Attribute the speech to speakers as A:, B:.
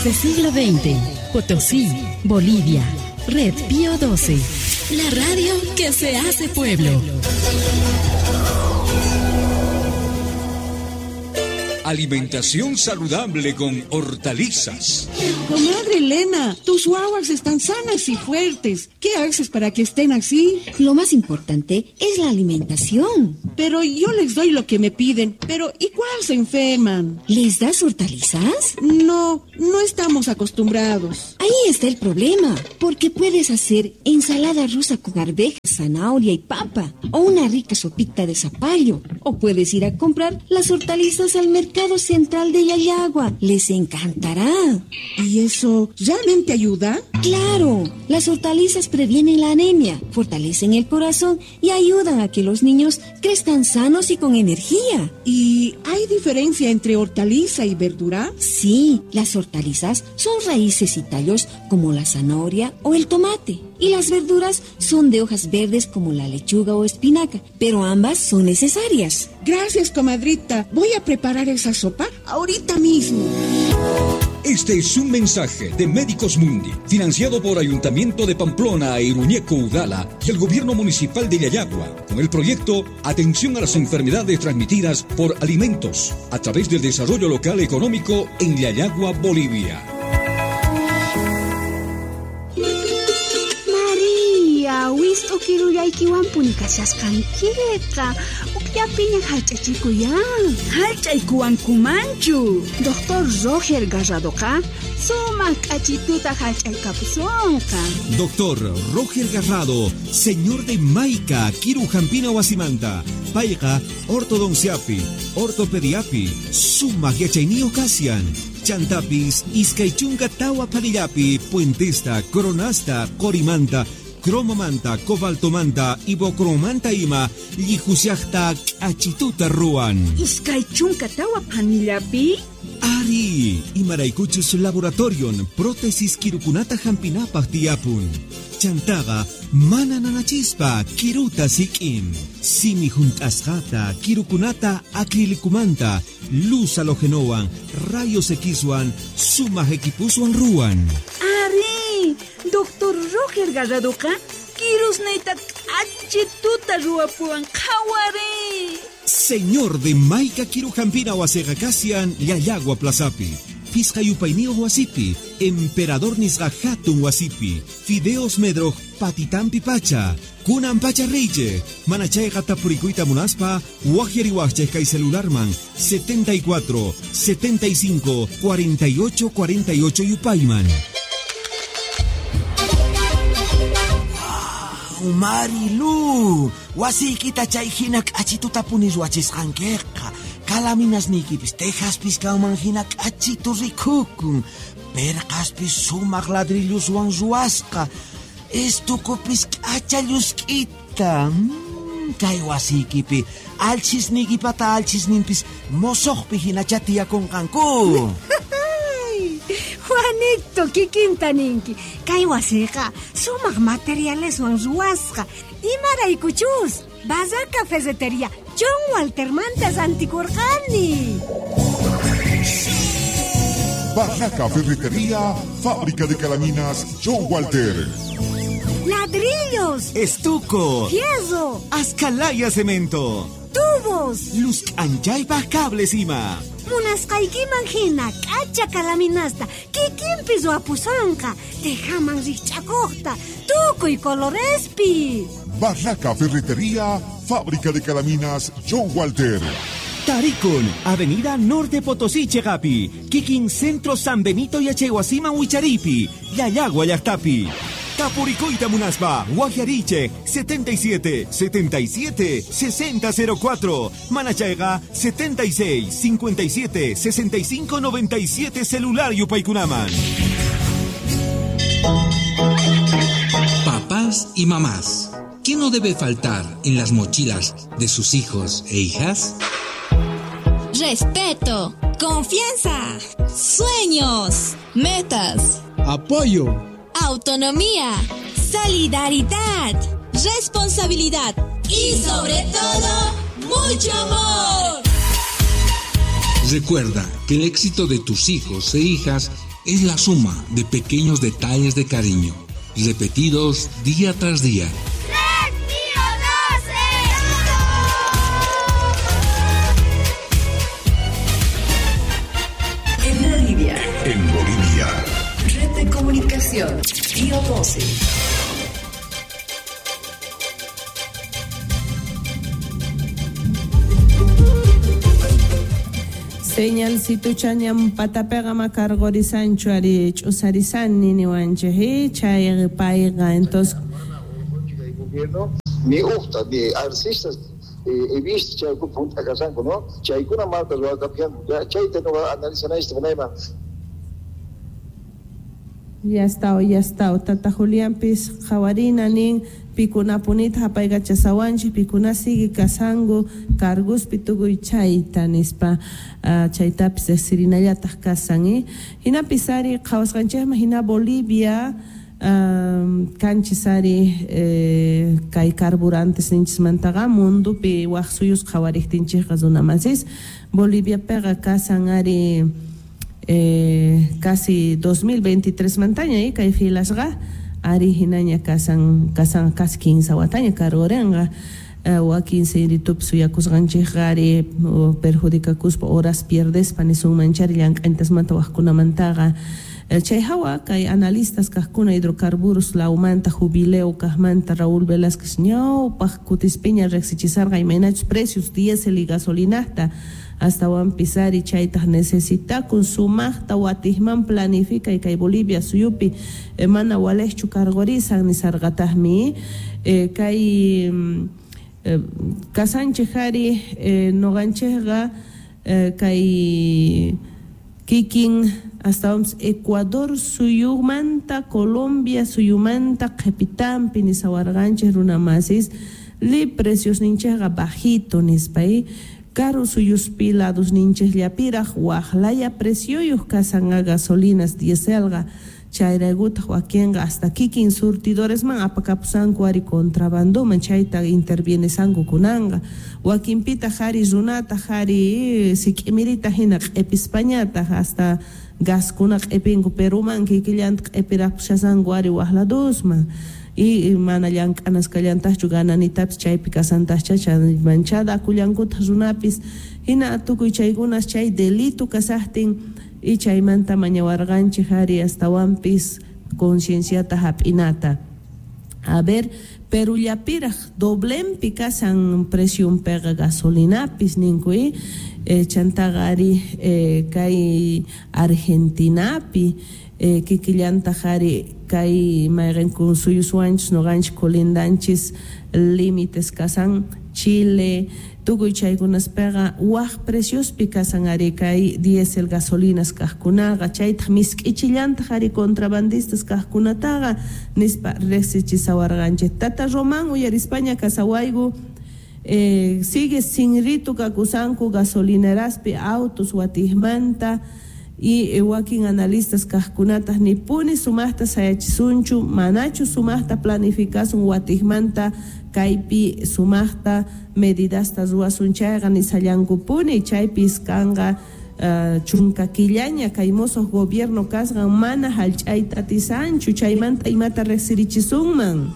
A: Desde siglo XX, Potosí, Bolivia. Red Pío 12. La radio que se hace pueblo.
B: Alimentación saludable con hortalizas.
C: Comadre Elena, tus guaguas están sanas y fuertes. ¿Qué haces para que estén así?
D: Lo más importante es la alimentación.
C: Pero yo les doy lo que me piden, pero igual se enferman.
D: ¿Les das hortalizas?
C: No, no estamos acostumbrados.
D: Ahí está el problema, porque puedes hacer ensalada rusa con arvejas, zanahoria y papa, o una rica sopita de zapallo, o puedes ir a comprar las hortalizas al mercado central de Llallagua. Les encantará.
C: ¿Y eso realmente ayuda?
D: Claro, las hortalizas previenen la anemia, fortalecen el corazón y ayudan a que los niños crezcan sanos y con energía.
C: ¿Y hay diferencia entre hortaliza y verdura?
D: Sí, las hortalizas son raíces y tallos como la zanahoria o el tomate. Y las verduras son de hojas verdes como la lechuga o espinaca, pero ambas son necesarias.
C: Gracias, comadrita. Voy a preparar esa sopa ahorita mismo.
B: Este es un mensaje de Médicos Mundi, financiado por Ayuntamiento de Pamplona e Iruñeco Udala y el Gobierno Municipal de Llallagua, con el proyecto Atención a las Enfermedades Transmitidas por Alimentos, a través del Desarrollo Local Económico en Llallagua, Bolivia.
E: Maria, wist'ukirullaykiwanpuni kashasqankiqa. Ukllapiña hallch'achikuyan.
F: Hallch'aykuwankumanchu.
E: Doctor Roger Garradoqa sumaq k'achituta hallch'aykapusunqa.
G: Doctor Roger Garrado, señor de Maica, Kiru Hampina Wasimanta, Payqa, ortodonciapi, ortopediapi, sumaq yachayniyuq kasian. Chantapis, iskaychunka tawa panillapi, puentesta, coronasta, corimanta, cromomanta, cobaltomanta, ibocromanta ima, llihusiaqta k'achituta ruwan.
F: Iskaychunka tawa panillapi?
G: Ari, imaraykuchus laboratorion, prótesis kirukunata hampinapaq tiyapun. Chantaqa, mana nanachispa, kiruta sik'in. Simi hunt'asqata, kirukunata acrilicumanta, luz halogenowan, rayos Xwan, sumaq equipuswan ruwan.
F: Ari, Doctor Roger Garradoqa, kirusniyta k'achituta ruwapuwan qhawari.
G: Señor de Maica Kirujampina wasiqa kasian Llallagua Plazapi, Pisqa yupayniyuq wasipi, Emperador nisqa hatun wasipi, Fideos Medroj patitampi pacha, Kunan pacha reyche, manachayqa tapurikuyta munaspa, waqyariwaqchik kay celularman 74 75 48 48 yupayman.
H: Marilu, wasiykita chay hina k'achituta puni ruwachisqankiqa. Kalaminasniykipis tejaspis kanman hina k'achitu rikukun. Perqaspis sumaq ladrilluswan ruwasqa. Estukupis k'acha llusk'ita. Kay wasiykipi alchisniykipata alchisninpis mosoqpi hinacha tiyakunqanku.
I: Juanito, kikinta ninki. Kay wasiqa sumaq materialeswan ruwasqa. Imaraykuchus, Barraca Ferretería John Waltermanta rantikurqani.
J: Barraca Ferretería, fábrica de calaminas John Walter.
I: Ladrillos,
G: estuco,
I: fierro,
G: ascalaya cemento,
I: tubos,
G: luz anchaypaq cables ima.
I: Munasqaykiman hina k'acha kalaminasta kikinpi ruwapusonqa, tejaman rikch'akuqta, tukuy colorespi.
J: Barraca Ferretería, fábrica de calaminas John Walter.
G: Tarikun, Avenida Norte Potosí Chegapi, Kikin Centro San Benito Yachaywasiman Wicharipi, Llallagua llaqtapi. Tapurikuyta munaspa, Guajariche, 77 77 60 04, Manachayqa 76 57 65 97 celular yupaykunaman.
K: Papás y mamás, ¿qué no debe faltar en las mochilas de sus hijos e hijas?
L: Respeto, confianza, sueños, metas,
M: apoyo,
L: autonomía, solidaridad, responsabilidad y sobre todo, mucho amor.
K: Recuerda que el éxito de tus hijos e hijas Es la suma de pequeños detalles de cariño, repetidos día tras día.
M: ¡Red Pío
A: 12! En Bolivia.
J: En Bolivia.
A: Red de Comunicación Pío 12.
N: Señalcituchañam patapega makargorisanchu ari ch'usarisani niwanchik chay payqa entonces
O: gobierno ni uqta ni arcistas he visto chay punta kasanku, ¿no? Chaykuna malta ruwakapianku chayta no analizanaysta munayman.
N: Ya está, ya está. Tata Julianpis qhawarina nin pikunapunita hapaykachasawanchik pikuna sigue kasanku cargospi tukuy chayta nispa chaytapis riqsirinallataq kasan. Hinapis ari qhawasqanchikman hina Bolivia kanchis ari kay carburantes ninchismantaqa mundupi waq suyus qhawariqtinchikqa runamasis Boliviapiqa kasan ari casi 2023 mantaña kay filasqa ari hinaña kasan kasan casi 15 wataña kargurinqa wakin sinritupi suyakusqanchikqa ari perjudicakuspa horas pierdespa nisunmanchari llank'antasmanta waqkunamantaqa chay hawa kay analistas kaqkuna hidrocarburos lawmanta jubileo kaqmanta Raúl Velázquez ñawpaq kutispiña riqsichisarqa imaynachus precios diésel y gasolinata astawanpis ari chaytaq necesitakun sumaqta watijman planifica y kay Bolivia suyupi mana waliqchu kargurisan nisarqataqmi kay kasanchik ari nuqanchikqa kay kikin astawanpis Ecuador suyumanta Colombia suyumanta qhipitanpi nisawarqanchik runamasis li precios ninchikqa bajito nispa karu suyuspi lados ninchikllapiraq waqlaya precioyuq kasanqa gasolinas dieselqa chayraykutaq wakinqa hasta kikin surtidoresman apakapusanku ari contrabandoman chayta intervienesanku kunanqa wakinpitaq ari runataq ari sik'imirita hina q'ipispañataq hasta gaskuna q'ipinku Peruman kikillanta q'ipirapushasanku ari waq ladosman y mana llank'anasqallantaqchu gananitapis chaypi kasantaqcha manchada akullankutaq runapis hina tukuy chaykunas chay delito kasaqtin y chaymanta mañawarqanchik ari astawanpis concienciata hap'inata. A ver, Perullapiraq doblenpi kasan preciunpiqa gasolinapis ninku chantaqa ari kay Argentinapi kikillantaq ari kay mayqinku suyuswanchis nuqanchik colindanchis límites kasan Chile tukuy chaykunaspiqa waq preciospi kasan ari kay diésel gasolinas kaqkunaqa chaytaq misk'ichillantaq ari contrabandistas kaqkunataqa nispa riqsichisawarqanchik. Tata Román uyarispaña kasawayku sigue sinritu kakusanku gasolineraspi autos watijmanta y wakin analistas kaqkunataq nipuni sumaqta sayachisunchu manachu sumaqta planificasun watijmanta kaypi sumaqta medidasta ruwasun chayqa nisallankupuni chaypis kanqa chunka killaña kay mosoq gobierno kasqan mana hallch'ayta atisanchu chaymanta imata riqsirichisunman.